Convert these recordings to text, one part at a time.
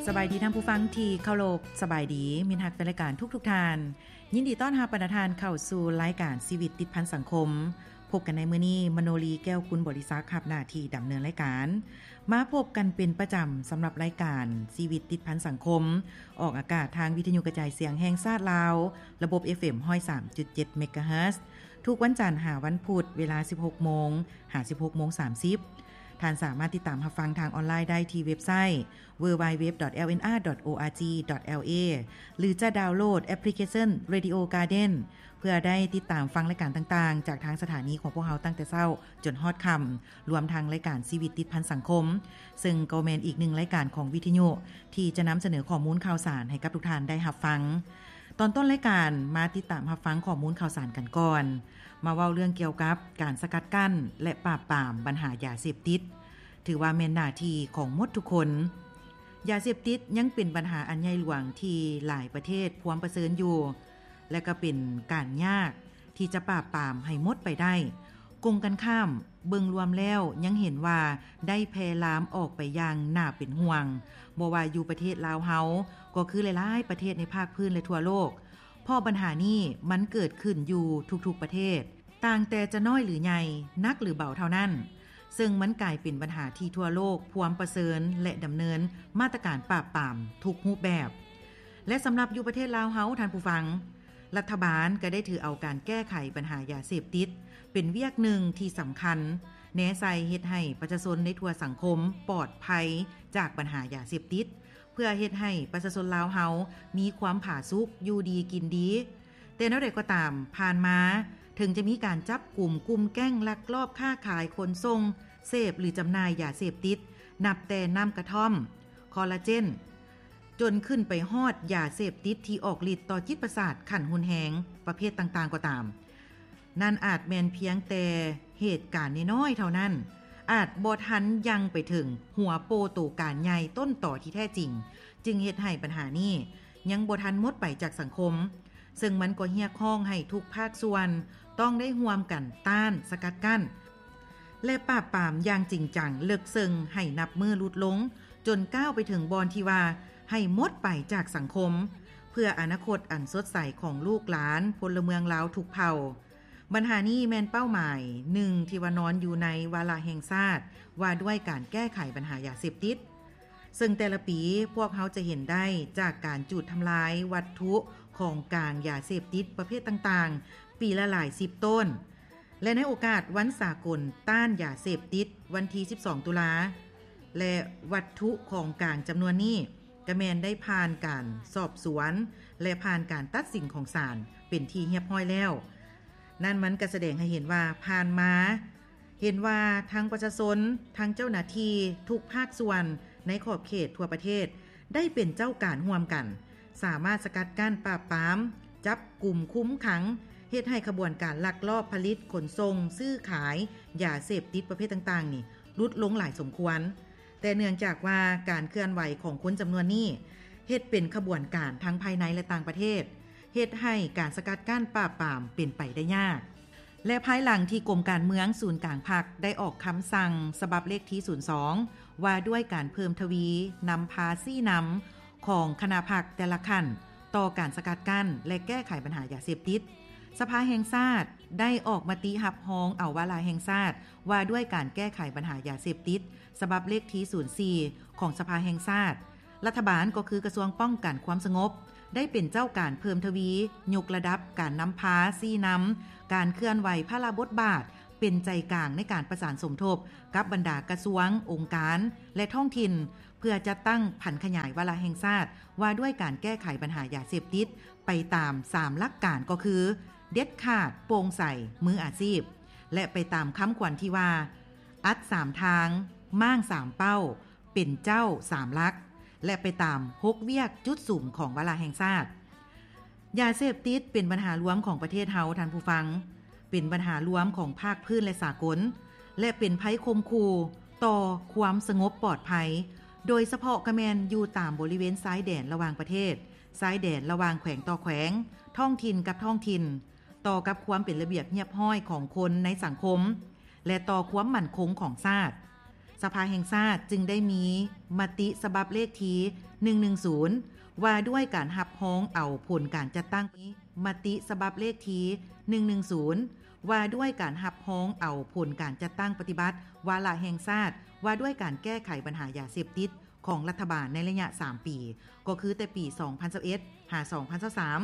ສະບາຍດີທ່ານຜູ້ຟັງທີ່ເຄົາລົບ, ສະບາຍດີມິດຮັກແຟນລາຍການທຸກໆທ່ານ. ຍິນດີຕ້ອນຮັບບັນດາທ່ານເຂົ້າສູ່ລາຍການຊີວິດຕິດພັນສັງຄົມ. ພົບກັນໃນມື້ນີ້ ມະໂນລີ ແກ້ວກຸນບໍລິສັກ ຮັບໜ້າທີ່ດຳເນີນລາຍການ. ມາພົບກັນເປັນປະຈຳສຳລັບລາຍການຊີວິດຕິດພັນສັງຄົມ, ອອກອາກາດທາງວິທະຍຸກະຈາຍສຽງແຫ່ງຊາດລາວ, ລະບົບ ເອຟເອັມ ຮ້ອຍສາມຈຸດເຈັດ ເມກາເຮີດ ທຸກວັນຈັນຫາວັນພຸດ ເວລາ ສິບຫົກໂມງ ຫາ ສິບຫົກໂມງສາມສິບ. ທ່ານສາມາດຕິດຕາມຮັບຟັງທາງອອນລາຍໄດ້ທີ່ເວັບໄຊ www.lnr.org.la ຫຼືຈະດາວໂຫຼດແອັບພລິເຄຊັນ Radio Garden ເພື່ອໄດ້ຕິດຕາມຟັງລາຍການຕ່າງໆ ຈາກທາງສະຖານີຂອງພວກເຮົາຕັ້ງແຕ່ເຊົ້າຈົນຮອດຄ່ຳ, ລວມທັງລາຍການຊີວິດຕິດພັນສັງຄົມ, ເຊິ່ງກໍແມ່ນອີກໜຶ່ງລາຍການຂອງວິທະຍຸທີ່ຈະນຳສະເໜີຂໍ້ມູນຂ່າວສານໃຫ້ກັບທຸກທ່ານໄດ້ຮັບຟັງ. ຕອນຕົ້ນລາຍການ ມາຕິດຕາມຮັບຟັງຂໍ້ມູນຂ່າວສານກັນກ່ອນ. ມາເວົ້າເລື່ອງກ່ຽວກັບການສະກັດກັ້ນ ແລະ ປາບປາມບັນຫາຢາເສບຕິດ. ຖືວ່າແມ່ນໜ້າທີ່ຂອງໝົດທຸກຄົນ. ຢາເສບຕິດຍັງເປັນບັນຫາອັນໃຫຍ່ຫຼວງທີ່ຫຼາຍປະເທດພວມປະເຊີນຢູ່ ແລະ ກໍເປັນການຍາກທີ່ຈະປາບປາມໃຫ້ໝົດໄປໄດ້. ກົງກັນຂ້າມ, ເບິ່ງລວມແລ້ວຍັງເຫັນວ່າໄດ້ແຜ່ລາມອອກໄປຢ່າງໜ້າເປັນຫ່ວງ, ບໍ່ວ່າຢູ່ປະເທດລາວເຮົາ ກໍຄືຫຼາຍໆປະເທດໃນພາກພື້ນ ແລະ ທົ່ວໂລກ, ເພາະບັນຫານີ້ມັນເກີດຂຶ້ນຢູ່ທຸກໆປະເທດ. ຕ່າງແຕ່ຈະນ້ອຍຫຼືໃຫຍ່, ໜັກຫຼືເບົາເທົ່ານັ້ນ, ເຊິ່ງມັນກາຍເປັນບັນຫາທີ່ທົ່ວໂລກພວມປະເຊີນ ແລະ ດຳເນີນມາດຕະການປາບປາມທຸກຮູບແບບ. ແລະ ສຳລັບຢູ່ປະເທດລາວເຮົາ, ທ່ານຜູ້ຟັງ, ລັດຖະບານກໍໄດ້ຖືເອົາການແກ້ໄຂບັນຫາຢາເສບຕິດເປັນວຽກໜຶ່ງທີ່ສຳຄັນ, ແນໃສ່ເຮັດໃຫ້ປະຊາຊົນໃນທົ່ວສັງຄົມປອດໄພຈາກບັນຫາຢາເສບຕິດ, ເພື່ອເຮັດໃຫ້ປະຊາຊົນລາວເຮົາມີຄວາມຜາສຸກ, ຢູ່ດີກິນດີ. ແຕ່ແນວໃດກໍຕາມ, ຜ່ານມາເຖິງຈະມີການຈັບກຸມກຸ່ມແກ້ງລັກລອບຄ້າຂາຍ, ຂົນສົ່ງ, ເສບ ຫຼື ຈຳໜ່າຍຢາເສບຕິດ, ນັບແຕ່ນ້ຳກະທ່ອມ, ຄໍລາເຈນ, ຈົນຂຶ້ນໄປຮອດຢາເສບຕິດທີ່ອອກລິດຕໍ່ຈິດປະສາດຂັ້ນຮຸນແຮງປະເພດຕ່າງໆກໍຕາມ, ນັ້ນອາດແມ່ນພຽງແຕ່ເຫດການນ້ອຍໆເທົ່ານັ້ນ, ອາດບໍ່ທັນຍັ່ງໄປເຖິງຫົວໂປໂຕການໃຫຍ່ຕົ້ນຕໍທີ່ແທ້ຈິງ, ຈຶ່ງເຮັດໃຫ້ບັນຫານີ້ຍັງບໍ່ທັນໝົດໄປຈາກສັງຄົມ. ເຊິ່ງມັນກໍຮຽກຮ້ອງໃຫ້ທຸກພາກສ່ວນຕ້ອງໄດ້ຮ່ວມກັນຕ້ານ, ສະກັດກັ້ນ ແລະ ປາບປາມຢ່າງຈິງຈັງ, ເລິກເຊິ່ງ, ໃຫ້ນັບມື້ຫຼຸດລົງ, ຈົນກ້າວໄປເຖິງບ່ອນທີ່ວ່າໃຫ້ໝົດໄປຈາກສັງຄົມ, ເພື່ອອະນາຄົດອັນສົດໃສຂອງລູກຫຼານພົນລະເມືອງລາວທຸກເຜົ່າ. ບັນຫານີ້ແມ່ນເປົ້າໝາຍໜຶ່ງທີ່ວ່ານອນຢູ່ໃນວາລະແຫ່ງຊາດວ່າດ້ວຍການແກ້ໄຂບັນຫາຢາເສບຕິດ. ເຊິ່ງແຕ່ລະປີພວກເຮົາຈະເຫັນໄດ້ຈາກການຈູດທຳລາຍວັດຖຸຂອງກາງຢາເສບຕິດປະເພດຕ່າງໆ ປີລະຫຼາຍສິບໂຕນ ແລະ ໃນໂອກາດວັນສາກົນຕ້ານຢາເສບຕິດ ວັນທີສິບສອງ ຕຸລາ ແລະ ວັດຖຸຂອງກາງຈຳນວນນີ້ກະແມ່ນໄດ້ຜ່ານການສອບສວນ ແລະ ຜ່ານການຕັດສິນຂອງສານເປັນທີ່ຮຽບຮ້ອຍແລ້ວ. ນັ້ນມັນກະສະແດງໃຫ້ເຫັນວ່າຜ່ານມາ ເຫັນວ່າທັງປະຊາຊົນ, ທັງເຈົ້າໜ້າທີ່ທຸກພາກສ່ວນໃນຂອບເຂດທົ່ວປະເທດ ໄດ້ເປັນເຈົ້າການຮ່ວມກັນ, ສາມາດສະກັດກັ້ນ, ປາບປາມ, ຈັບກຸມ, ຄຸມຂັງ, ເຮັດໃຫ້ຂະບວນການລັກລອບຜະລິດ, ຂົນສົ່ງ, ຊື້ຂາຍຢາເສບຕິດປະເພດຕ່າງໆນີ້ຫຼຸດລົງຫຼາຍສົມຄວນ. ແຕ່ເນື່ອງຈາກວ່າການເຄື່ອນໄຫວຂອງຄົນຈຳນວນນີ້ ເຮັດເປັນຂະບວນການທັງພາຍໃນ ແລະ ຕ່າງປະເທດ, ເຮັດໃຫ້ການສະກັດກັ້ນ, ປາບປາມເປັນໄປໄດ້ຍາກ. ແລະ ພາຍຫຼັງທີ່ກົມການເມືອງສູນກາງພັກໄດ້ອອກຄຳສັ່ງສະບັບເລກທີສູນສອງ ວ່າດ້ວຍການເພີ່ມທະວີນຳພາຊີ້ນຳຂອງຄະນະພັກແຕ່ລະຂັ້ນຕໍ່ການສະກັດກັ້ນ ແລະ ແກ້ໄຂບັນຫາຢາເສບຕິດ, ສະພາແຫ່ງຊາດໄດ້ອອກມະຕິຮັບຮອງເອົາວາລະແຫ່ງຊາດວ່າດ້ວຍການແກ້ໄຂບັນຫາຢາເສບຕິດ ສະບັບເລກທີສູນສີ່ ຂອງສະພາແຫ່ງຊາດ. ລັດຖະບານກໍຄືກະຊວງປ້ອງກັນຄວາມສະຫງົບ ໄດ້ເປັນເຈົ້າການເພີ່ມທະວີຍົກລະດັບການນຳພາຊີ້ນຳການເຄື່ອນໄຫວພາລະບົດບາດເປັນໃຈກາງໃນການປະສານສົມທົບກັບບັນດາກະຊວງ, ອົງການ ແລະ ທ້ອງຖິ່ນ ເພື່ອຈັດຕັ້ງຜັນຂະຫຍາຍວາລະແຫ່ງຊາດວ່າດ້ວຍການແກ້ໄຂບັນຫາຢາເສບຕິດໄປຕາມສາມຫຼັກການ ກໍຄື ເດັດຂາດ, ໂປ່ງໃສ, ມືອາຊີບ ແລະ ໄປຕາມຄຳຂວັນທີ່ວ່າ ອັດສາມທາງ, ມ້າງສາມເປົ້າ, ເປັນເຈົ້າສາມຫຼັກ ແລະ ໄປຕາມຫົກວຽກຈຸດສຸມຂອງວາລະແຫ່ງຊາດ. ຢາເສບຕິດເປັນບັນຫາລວມຂອງປະເທດເຮົາ, ທ່ານຜູ້ຟັງ, ເປັນບັນຫາລວມຂອງພາກພື້ນ ແລະ ສາກົນ ແລະ ເປັນໄພຂົ່ມຂູ່ຕໍ່ຄວາມສະຫງົບປອດໄພ, ໂດຍສະເພາະກະແມ່ນຢູ່ຕາມບໍລິເວນຊາຍແດນລະຫວ່າງປະເທດ, ຊາຍແດນລະຫວ່າງແຂວງຕໍ່ແຂວງ, ທ້ອງຖິ່ນກັບທ້ອງຖິ່ນ, ຕໍ່ກັບຄວາມເປັນລະບຽບຮຽບຮ້ອຍຂອງຄົນໃນສັງຄົມ ແລະ ຕໍ່ຄວາມໝັ້ນຄົງຂອງຊາດ. ສ ສະພາແຫ່ງຊາດຈຶ່ງໄດ້ມີມະຕິສະບັບເລກທີໜຶ່ງໜຶ່ງສູນ ວ່າດ້ວຍການຮັບຮອງເອົາຜົນການຈັດຕັ້ງ, ມະຕິສະບັບເລກທີໜຶ່ງໜຶ່ງສູນ ວ່າດ້ວຍການຮັບຮອງເອົາຜົນການຈັດຕັ້ງປະຕິບັດວາລະແຫ່ງຊາດ ວ່າດ້ວຍການແກ້ໄຂບັນຫາຢາເສບຕິດຂອງລັດຖະບານໃນໄລຍະສາມປີ ກໍຄືແຕ່ປີສອງພັນຊາວເອັດ ຫາ ສອງພັນຊາວສາມ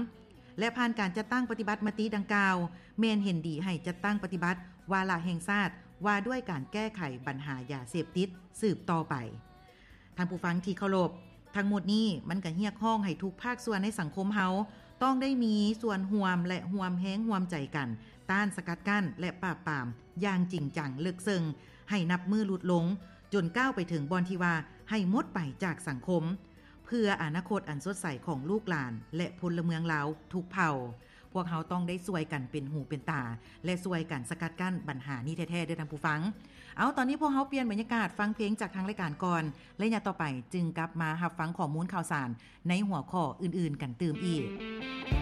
ແລະ ຜ່ານການຈັດຕັ້ງປະຕິບັດມະຕິດັ່ງກ່າວ ແມ່ນເຫັນດີໃຫ້ຈັດຕັ້ງປະຕິບັດວາລະແຫ່ງຊາດ ວ່າດ້ວຍການແກ້ໄຂບັນຫາຢາເສບຕິດສືບຕໍ່ໄປ. ທ່ານຜູ້ຟັງທີ່ເຄົາລົບ, ທັງໝົດນີ້ມັນກະຮຽກຮ້ອງໃຫ້ທຸກພາກສ່ວນໃນສັງຄົມເຮົາ ຕ້ອງໄດ້ມີສ່ວນຮ່ວມ ແລະ ຮ່ວມແຮງຮ່ວມໃຈກັນ ຕ້ານສະກັດກັ້ນ ແລະ ປາບປາມຢ່າງຈິງຈັງເລິກເຊິ່ງ ໃຫ້ນັບມື້ຫຼຸດລົງ ຈົນກ້າວໄປເຖິງບ່ອນທີ່ວ່າໃຫ້ໝົດໄປຈາກສັງຄົມ ເພື່ອອະນາຄົດອັນສົດໃສຂອງລູກຫຼານ ແລະ ພົນລະເມືອງລາວທຸກເຜົ່າ. ພວກເຮົາຕ້ອງໄດ້ຊ່ວຍກັນເປັນຫູເປັນຕາ ແລະ ຊ່ວຍກັນສະກັດກັ້ນບັນຫານີ້ແທ້ໆ ເດີທ່ານຜູ້ຟັງ. ເອົາ, ຕອນນີ້ພວກເຮົາປ່ຽນບັນຍາກາດຟັງເພງຈາກທາງລາຍການກ່ອນ, ໄລຍະຕໍ່ໄປຈຶ່ງກັບມາຮັບຟັງຂໍ້ມູນຂ່າວສານໃນຫົວຂໍ້ອື່ນໆກັນຕື່ມອີກ.